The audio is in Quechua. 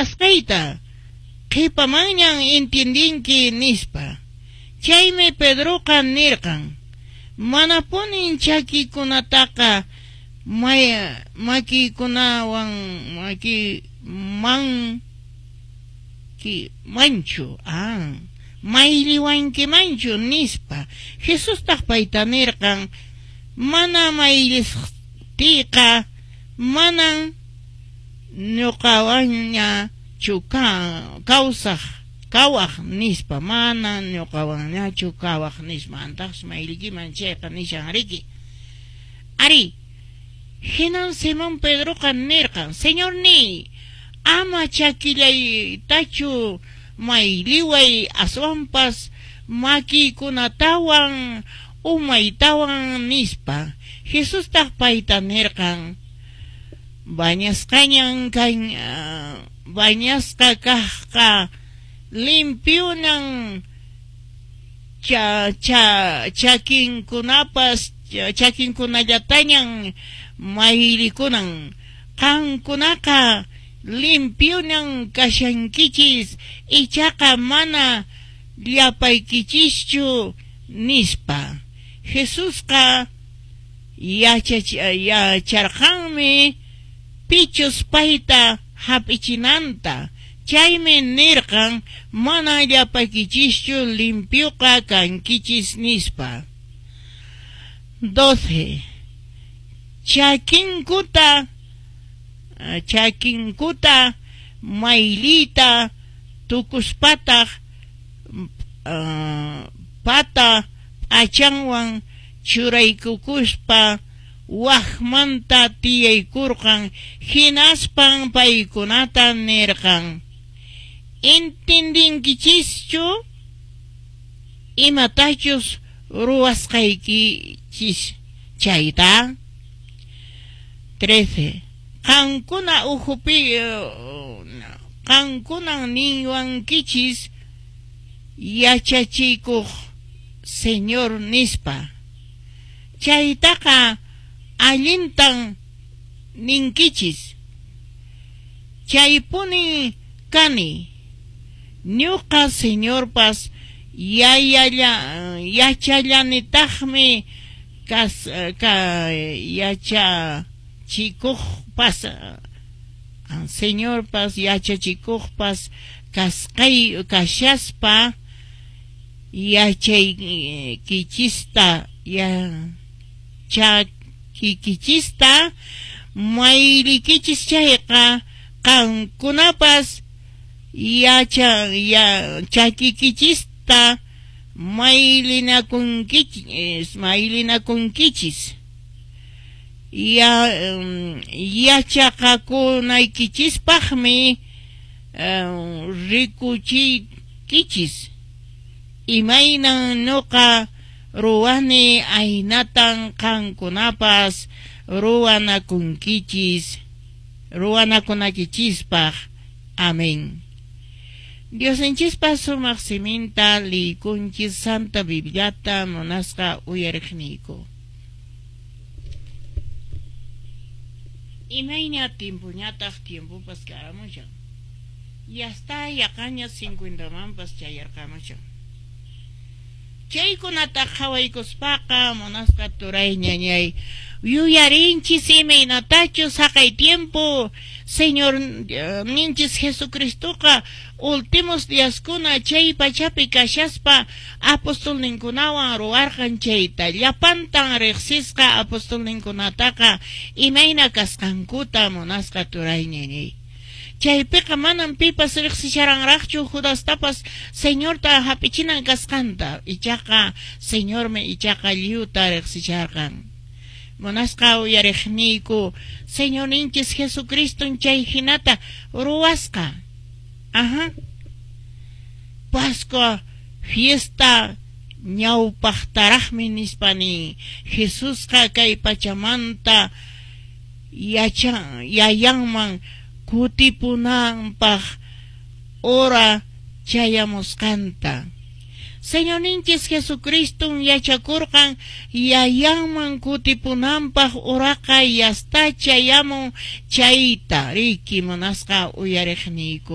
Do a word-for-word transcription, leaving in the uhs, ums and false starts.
Ruwasqayta qhipamanñan entiendenki, nispa. Chaymi Pedroqa nirqan, Manapunin chakikunataqa makiykunawan maki man ki manchu ah, mayliwankimanchu, nispa. Jesustaq payta nirqan, Mana mayllisqtiyqa manan ñuqawanñachu kawsaq kawaq, nispa. Mana ñuqawanñachu kawaq, nispa. Antaqsi mayllikiman chayqa nishan riki. Ari, hinan Simón Pedroqa nirqan, Señorníy, ama chakillaytachu mayliway, aswanpas makiykunatawan umaytawan, nispa. Jesustaq payta nirqan, Bañasqañan kan bañasqa kaqqa limpionan cha, cha, chakinkunapas chakinkunallatañan maylikunan. Qankunaqa limpionan kashankichis, ichaqa mana llapaykichischu, nispa. Jesusqa yacharqanmi pichus payta hap'ichinanta. Chaymi nirqan, mana llapaykichischu limpioqa kankichis, nispa. doce. Chakinkuta chakinkuta maylita tukuspataq uh, pata p'achanwan churaykukuspa waqmanta tiyaykurqan. Hinaspan paykunata nirqan, Entendinkichischu imatachus ruwasqaykichis chayta? trece. Qankuna ukhupi qankunan niwankichis yachachikuq, Señor, nispa. Chaytaqa allintan ninkichis. Chaypunin kani. Ñuqa Señorpas yayalla yachallanitaqmi kas ka yachachikuqpas Señorpas yachachikuqpas kasqay kashaspa yachaykichista ya chakikichista maylikichis chayqa qankunapas yacha ya chakikichista maylinakunkichis maylinakunkichis. Ya yachaqakunaykichispaqmi rikuchiykichis imaynan ñuqa ruwani aynatan qankunapas ruwanakunkichis ruwanakunakichispaq. Amén. Diosninchispa sumaq siminta liykunchis Santa Bibliata munasqa uyariqniyku. Imayna tiempoñataq tiempopas karamushan. Yasta yaqaña cincuentamanpas chayarqamushan. Chaykunata qhawaykuspaqa munasqa turay ñañay yuyarinchis imaynatachus haqay tiempo Señor ninchis Jesucristoqa últimos diaskuna chay pachapi kashaspa apostolninkunawan ruwarqan chayta. Llapantan riqsisqa apostolninkunataqa imayna kasqankuta munasqa turay ñañay. Chaypiqa manan pipas riqsisharanraqchu Judastapas Señorta hap'ichinan kasqanta. Ichaqa Señormi ichaqa lliwta riqsisharqan. Munasqa uyariqniyku Señorninchis Jesucriston chay hinata ruwasqa. Ajá. Pascua fiesta ñawpaqtaraqmi nispa nin. Jesusqa kay pachamanta yacha yayanman kutipunanpaq hora chayamusqanta. Señorninchis Jesucriston yachakurqan yayanman kutipunanpaq uraqa yasta chayamun chayta, riki munasqa uyariqniyku.